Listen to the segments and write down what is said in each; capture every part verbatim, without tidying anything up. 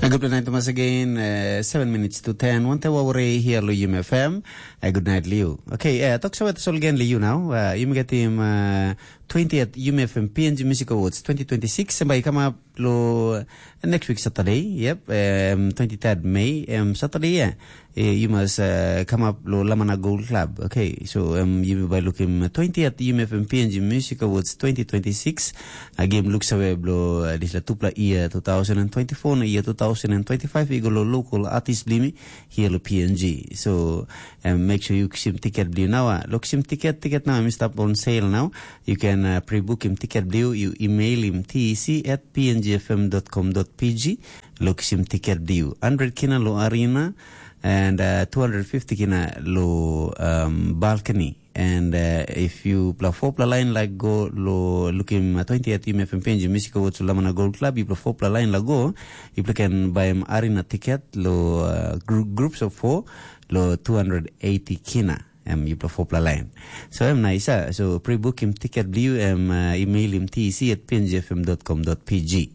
A good night once again, uh, seven minutes to ten. One te wawre here lo U M F M. A good night, Liu. Okay, uh, talk about sol again, Liu now. Uh, you get him uh, twentieth U M F M P N G Music Awards twenty twenty-six. Somebody come up lo next week Saturday. Yep, um, twenty-third May, um, Saturday, yeah. Eh, you must uh, come up lo Lamana Gold Club. Okay, so um, you by looking twentieth U M F M P N G Music Awards twenty twenty-six. A game looks away blo uh, this la tupla year two thousand twenty-four na year two thousand twenty-five. You go lo local artist blimi here lo P N G. So um, make sure you sim ticket bli now. Uh, look sim ticket, ticket now. I'm stop on sale now. You can uh, pre-book him ticket bli. You email him T E C at P N G F M dot com dot P G. Look sim ticket bli. Hundred kina lo arena and uh, two hundred fifty kina lo um, balcony. And uh, if you pla four pla line like go lo looking uh, twentieth U M F M P N G Music Awards Lamana Gold Club, you pla four pla line like go, you pla can buy an arena ticket lo uh, group, groups of four lo two hundred eighty kina. Um, you pla four pla line. So um, nice. Uh, so pre-book him ticket bli um, uh, email him T E C at P N G F M dot com dot P G.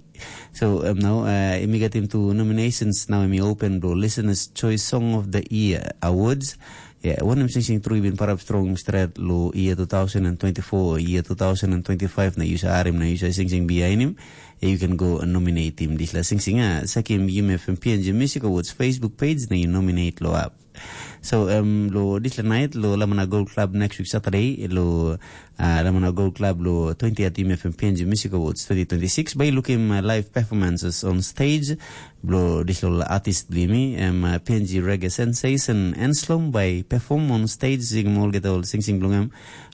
So um, now uh, mi gat him two nominations. Now mi open blo Listener's Choice Song of the Year Awards. Yeah, one him sing sing through been parap strong stret lo year two thousand twenty-four, year two thousand twenty-five na yusa arim na yusa sing sing behind him. Yeah, you can go and nominate him. This la sing sing ah, sekim U M F M P N G Music Awards Facebook page na you nominate lo up. So um, lo this la night lo Lamana Gold Club next week Saturday lo uh, Lamana Gold Club lo twentieth U M F M P N G Music Awards twenty twenty-six by looking uh, live performances on stage. Blo this lo artist blimi um, uh, P N G Reggae Sensation Enslom by perform on stage sing all get all sing sing blong em.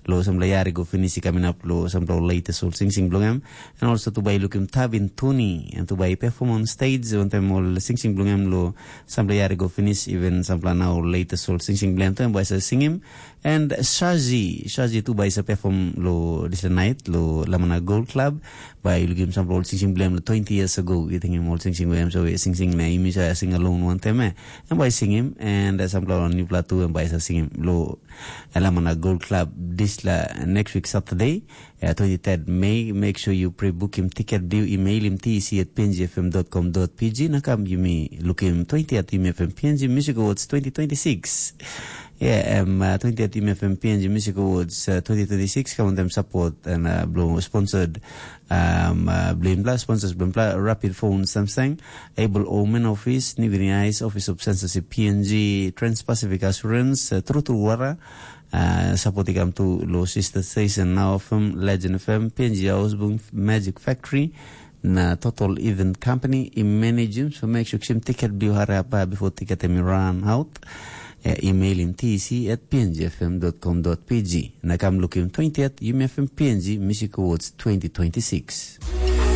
Lo sampla yari go finish coming up lo sampla latest all sing sing blong em. And also to by looking Tabin Tuni and to by perform on stage on time all sing sing blong em lo sampla yari go finish even sampla now latest all sing sing blong em to em by sing him. And Shazi, Shazi tu bai sa perform lo this night lo Lamana Gold Club. Bai looking sampla all sing sing blame lo twenty years ago. You think him all sing sing blame so sing sing na imi sa sing alone one time eh. And bai sing him and uh, sampla on new plateau and bai sa sing him lo Lamana Gold Club this la next week Saturday. Uh, twenty-third May, make sure you pre-book him ticket bill, email him T E C at P N G F M dot com dot P G. Na kam you me look him twentieth M F M P N G Music Awards twenty twenty-six. Yeah, um, uh, twentieth M F M P N G Music Awards uh, twenty twenty-six. Come on them support and uh, blow sponsored um, uh, Blimbla, sponsors Blimbla, Rapid Phone Samsung, Able Omen Office, New Guinea Eyes, Office of Censorship P N G, Trans-Pacific Assurance, uh, True True Water, uh, support ikam tu lo sister station Now F M, Legend F M, P N G Ausbung, Magic Factory, na Total Event Company, i manage so make sure sim ticket biu hari apa before ticket em run out. Uh, email him T C at P N G F M dot com dot P G. Na kam look him twentieth, you may have him P N G Music Awards twenty twenty-six.